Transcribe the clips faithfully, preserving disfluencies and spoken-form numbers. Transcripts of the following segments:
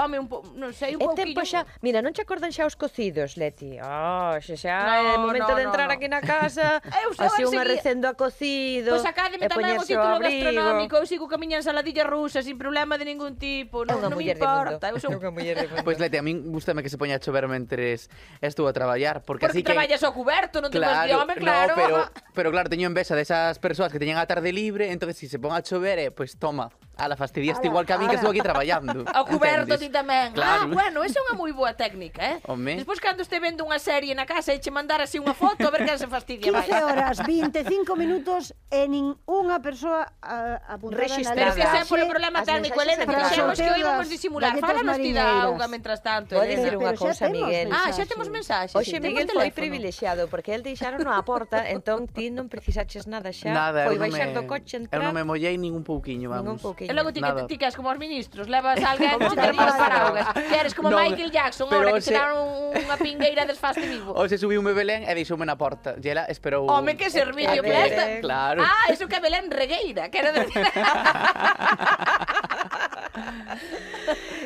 home, non sei, un pouquinho... Mira, non te acordan xa os cocidos, Leti? Oh, xa xa é momento de entrar aquí na casa, así unha recendo a cocido, pois sacádeme tamén o título gastronómico, eu sigo que a miña ensaladilla rusa sin problema de ningún tipo, non me importa. Pois Leti, a min gustame que se poña a chover mentres estou a traballar, porque así que... Porque traballas ao cuberto, non te vas de home, claro. Pero claro, teño envexa desas persoas que teñen a tarde libre, entonces si se pon a chover, pois toma, ala, fastidiaste igual que a min que estou aquí traballando. Ao cuberto ti tamén. Ah, bueno, esa é unha moi boa técnica, eh? Despois cando este vendo unha serie na casa e che mandar así unha foto, a ver quen se fastidia máis. quince horas, vinte e cinco minutos e nin unha persoa apuntada na Pero que sea por o problema técnico, Elena, que dixemos que o íbamos disimular. Fálanos ti da auga mentras tanto, Pode decir unha cousa, Miguel. Ah, xa temos mensaxes. Oxe, Miguel foi privilexiado, porque el deixaron a porta, entón ti non precisaches nada xa. Nada, foi baixar do coche, entrar. Eu non me mollei nin un pouquiño, vamos. E logo ti que as como os ministros, levas alguén que te levas paraugas. Que eres como Michael Jackson, ahora que te dan unha pingueira desfaste vivo. O se subiu me Belén e deixoume na porta. E ela esperou... Home, que servicio presta. Claro. Ah, eso que é Belén Regueira, quero decir.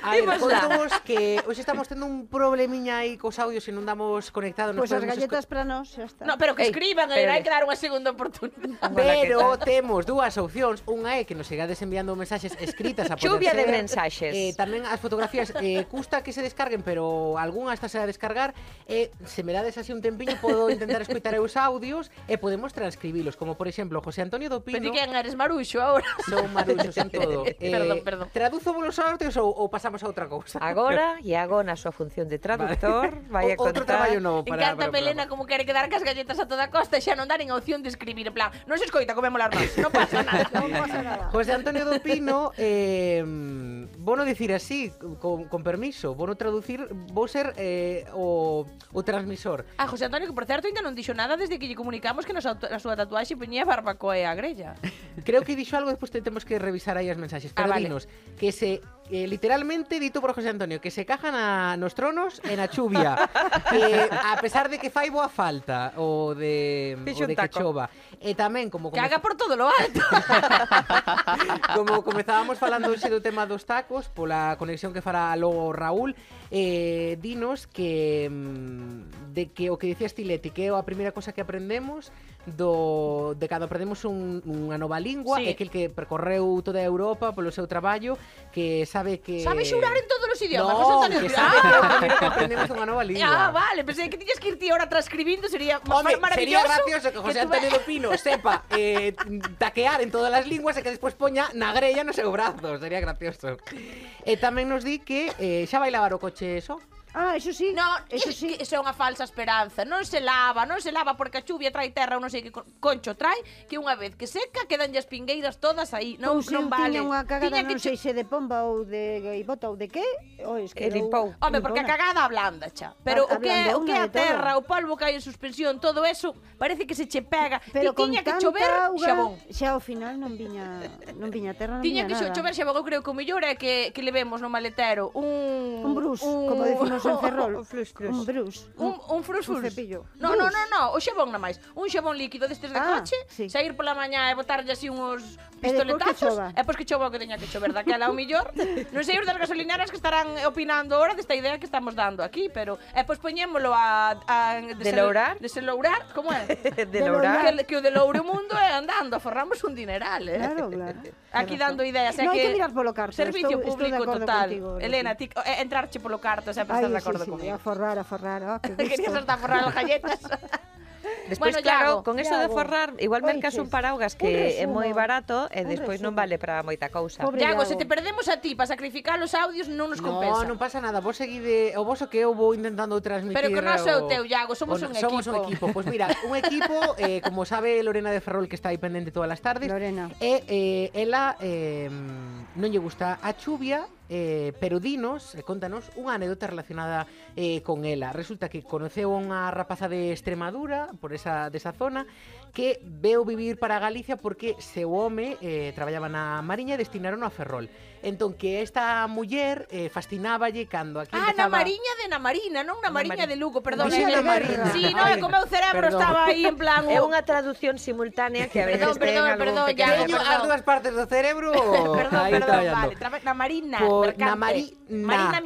A ver, contamos que hoxe estamos tendo un problemiña aí cos audios e non damos conectado. Pois as galletas para nós, xa está. No, pero que escriban, hai que dar unha segunda oportunidade. Pero temos dúas opcións. Unha é que nos sigades enviando mensaxes escritas a poder Chuvia ser. de mensaxes. Eh, tamén as fotografías eh, custa que se descarguen, pero algunha está a descargar. E eh, se me dades así un tempiño, podo intentar escoitar os audios e podemos transcribilos. Como, por exemplo, José Antonio do Pino. Pero ti quen eres, Maruxo, agora? Son maruxos en todo. Eh, perdón, perdón. Traduzo vos os audios ou, ou pasamos a outra cousa? Agora, e agora na súa función de traductor, vai a contar... Outro traballo novo para... Encanta Melena como quere quedar cas galletas a toda costa e xa non dar en opción de escribir, en plan, non se escoita, comémolas máis, non pasa nada. Non pasa nada. José Antonio do Pino, eh, vou non dicir así, con, con permiso, vou non traducir, vou ser eh, o, o transmisor. Ah, José Antonio, que por certo ainda non dixo nada desde que lle comunicamos que na súa tatuaxe poñía barbacoa e a grella. Creo que dixo algo, despois temos que revisar aí as mensaxes, pero ah, vale. Dinos que se... Eh, literalmente dito por José Antonio que se cajan a, nos tronos e na chuvia que a pesar de que fai boa falta o de, o de que chova e tamén como... Caga por todo lo alto. Como comezábamos falando hoxe do tema dos tacos pola conexión que fará logo Raúl, eh, dinos que de que o que dicías ti, Leti, que é a primeira cosa que aprendemos do, de cando aprendemos un, unha nova lingua, sí. É que el que percorreu toda a Europa polo seu traballo, que sabe que... Sabe xurar en todos os idiomas, no, José Antonio. Que sabe ah. que é o primeiro que aprendemos unha nova lingua. Ah, vale, pensei que tiñas que ir ti ahora transcribindo, sería Home, maravilloso. Sería gracioso que José que Antonio do Pino sepa eh, taquear en todas as linguas e que despois poña na grella no seu brazo, sería gracioso. E tamén nos di que eh, xa vai lavar o coche eso. Ah, eso sí. No, eso sí. sí. Eso é unha falsa esperanza. Non se lava, non se lava porque a chuvia trae terra ou non sei que concho trae, que unha vez que seca quedan as pingueiras todas aí. Non, Pois non vale. Tiña unha cagada, non sei se de pomba ou de gaivota ou de que. Ois que limpou. Home, porque a cagada ablanda, xa. Pero o que o que a terra, o polvo que hai en suspensión, todo eso, parece que se che pega. Pero tiña que chover xabón. Xa ao final non viña, non viña terra, non tiña viña que chover xabón. Eu creo que o mellor é que que levemos no maletero un un brus, como decimos en Ferrol. Flus, flus. Un brus. Un, un frus un frus. cepillo. No, no, no, no, o xabón na máis. Un xabón líquido destes de ah, coche, sí. sair pola mañá e botarlle así uns pistoletazos. E pois que chova o que teña que chover daquela ao millor. Non sei os das gasolineras que estarán opinando ahora desta idea que estamos dando aquí, pero e pois poñémolo a, a delourar, deselourar, como é? Delourar. Que, que o deloure o mundo é andando, aforramos un dineral, eh. Claro, claro. Aquí dando ideas, é no, que hai que mirar polo carto. Servicio estou, público estou total. Contigo, Elena, ti, eh, entrarche polo carto, sempre estás de acordo sí, sí, comigo. A forrar, a forrar, oh, que gusto. Querías hasta forrar as galletas. Despois, bueno, claro, Iago, con eso Iago. de forrar, igual mercas un paraugas que é moi barato e despois non vale para moita cousa. Iago, se te perdemos a ti para sacrificar os audios non nos compensa. No, non pasa nada, vos seguide, o vos o que eu vou intentando transmitir. Pero que non é o teu, Iago, somos un equipo. Somos un equipo, pois pues mira, un equipo, eh, como sabe Lorena de Ferrol, que está aí pendente todas as tardes, Lorena. E eh, ela eh, non lle gusta a chuvia, Eh, pero dinos, eh, contanos unha anécdota relacionada eh, con ela. Resulta que conoceu unha rapaza de Extremadura, por esa desa zona, que veu vivir para Galicia porque seu home eh, traballaba na Mariña e destinaron a Ferrol. Entón, que esta muller eh, fascináballe cando aquí ah, empezaba... Ah, na Mariña de na Marina, non na Mariña de Lugo, perdón. Mariña de Marina. Sí, non, é como o cerebro perdón. Estaba aí en plan... É unha traducción simultánea que a veces ten algún perdón, pequeno... Teño as dúas partes do cerebro... Perdón, perdón, vale. Na Marina. Por, na Marina. Marina